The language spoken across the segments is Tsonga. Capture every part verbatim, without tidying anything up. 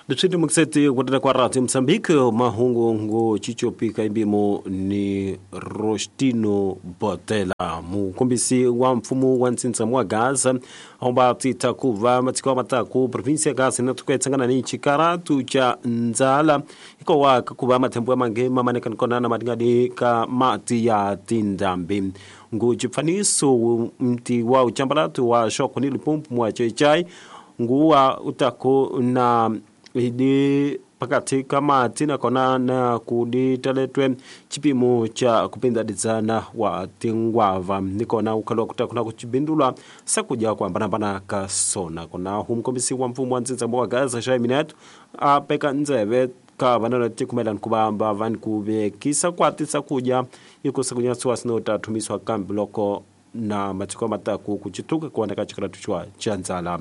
Leswi mukiseti kutela kwa Radio Mozambique mahungu ngo chichopika imbimo ni Rostino Botela mukombisi wa mfumo wa ntsintsa wa Gaza omba tita kuva matiko mataku provinsia ya Gaza na tukaitsangana ni chikaratu cha nzala iko wa kuva mathembo ya mangema maneka nkona na madingadi ka mati ya tindambi ngo chipfaniso mti wa uchambalatu wa shoko ni Limpopo mwa chechai nguwa utako na idi pakati kama tina kona na kuditaletwe chipimo cha kupinda dizana wa tingwava nikona ukalo kutakuna kuchibindulwa sakuja kwa mbanambana kasona kona humkombisi wa mfumo wa ntsintsa wa Gaza shaiminatu apeka nzeve ka vanana tikumela nkubamba van kuvekisa kwatisa kuja iko sakunya suwasino tatumiswa kambi loko na matiko mataku kuchituka kuoneka chikaratu chwa chanzala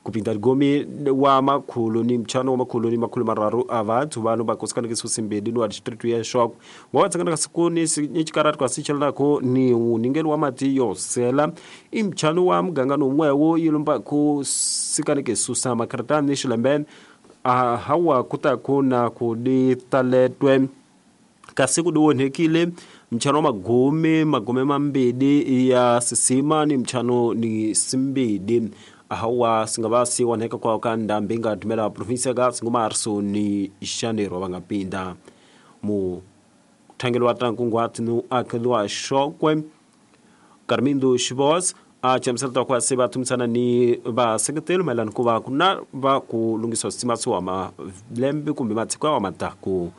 kupinda gomi wa makhulu ni mchano wa makhulu ni makhulu mararu avathu vanhu vakosikana kisusimbili ni wa district ya Shoko wa siku ni chikaratu kwa sichelako ni uningelo wa mati yosela imchano wa mganga nomwewo yilumba ku sikana kisusa makaratani shilembe a hawa kutakuna kuditaletwe kasi kudiwonhekile mchano magome magome mambili ya sisima ni mchano ni simbili hawa singavasi wanheka kwa kanda mbinga tumela provinsia ga singumarso ni Janeiro vangapinda mu thangelo wa tankungwati nu akelwa Shokwe Carmindo Shibos a chamselta kwa seba tumsana ni va sekretelo maelana ku va kuna va ku lungisa sima swa ma lembe kumbe matiko wa mataku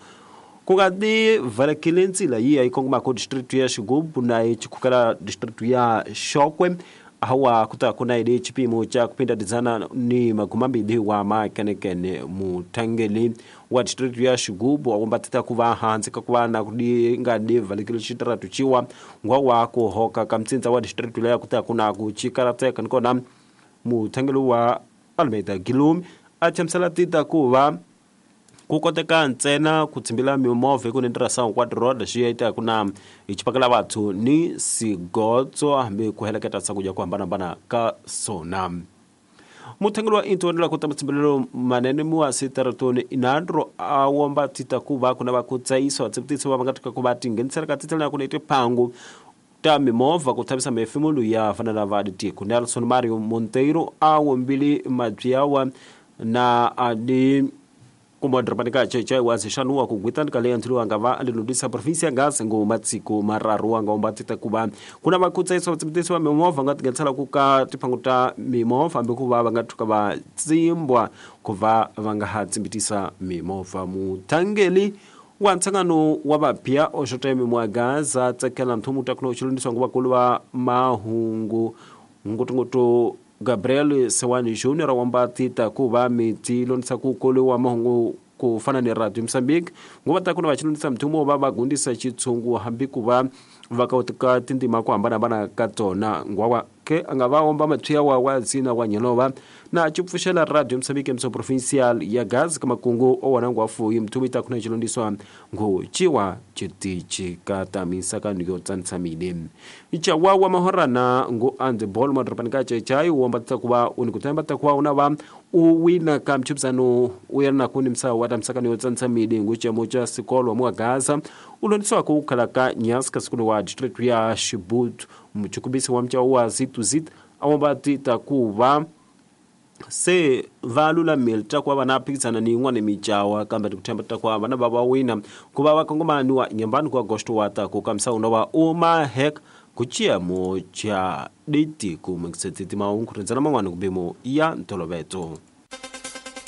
ku nga ti valekile ntsila yi yi kongoma ku district ya Xigubu na yi chikukela district ya Shokwe hawa kutakuna ile chipimo cha kupinda dizana ni magumambili wa makenekene mutangeli wa district ya Xigubu akumbatita kuva hansi ka kuva na kudi nga di valekile chitaratu chiwa ngwa wa kuhoka kamtsinza wa district ya kutakuna kuchikarateka nikona mutangeli wa Almeida Gilumi achamsala tita kuva kukoteka ntsena kutsimbila mimovha ku nindirasa hinkwato road xi kuna hi vathu ni sigotso hambi ku heleketa swakudya ku hambanahambana ka sona muthengeli wa intoni la ku ta matshimbilelo manene muwa sitaratoni inandro a womba tita ku va ku na va ku tsayiswa tsibutiso va va nga tika ku va tinghenisela ka titela ya ku na tiphangu ta mimovha ku thavisa mifimulu ya fanela va ditiko Nelson Mario Monteiro a wombili mabyawa na adi kumodropanika cheche wa zixanu wa kugwitani ka leyi ntshilo nga va alilundisa provinsia ya Gaza ngo matsiko mararu nga ombatita kuva kuna va kutsayisa vatsibutisi va mimovha nga tinghenisela ku ka tiphangu ta mimovha hambi ku va va nga thuka va tsimbwa ku va va nga ha tsimbitisa mimovha muthangeli wa ntsangano wa vapya oxoteme mwa Gaza tsekela nthumu ta kuna xilundiswa ngo vakulu va mahungu ngotongoto Gabriel Sewani Junior wambatita kuva miti lonisa ku wa mahungu ku fana ni Radio Mozambique ngo va ta kuna va xilundisa mthumo va va gundisa xitshungu hambi ku va va ka tindima ku hambanahambana ka tona ngwawa ke a nga va omba matshwiya wa wa zina wa nyelova na chipfuxela Radio Mozambique mso provincial ya Gaza ka makungu o wona ngwafuyi mthumo ita kuna xilundiswa ngo chiwa chitichi ka tamisa ka niyo tsantsamile ichawa wa mahorana ngo and ball madropani ka chechai womba ta kuva uni kutemba ta kuva una va u wina ka mchipsano u yana kuni msawa wa tamsaka niyo tsantsamile ngo chamo cha sikolo mwa Gaza ulondiswa ku khala ka nyaska sikolo wa district ya Shibutu mchukubisi wa mchao wa zitu zit awomba tita kuva se valula milta kwa vana phikisana ni yin'wana mijawa kambe tikuthemba ta kwa vana va va wina ku va va kongomani wa nyambani ku agosto wa ta ku kamisa uno wa uma hek ku chiamo cha ditiko meksetiti mahungu rindzela man'wana ku bimo ya ntoloveto.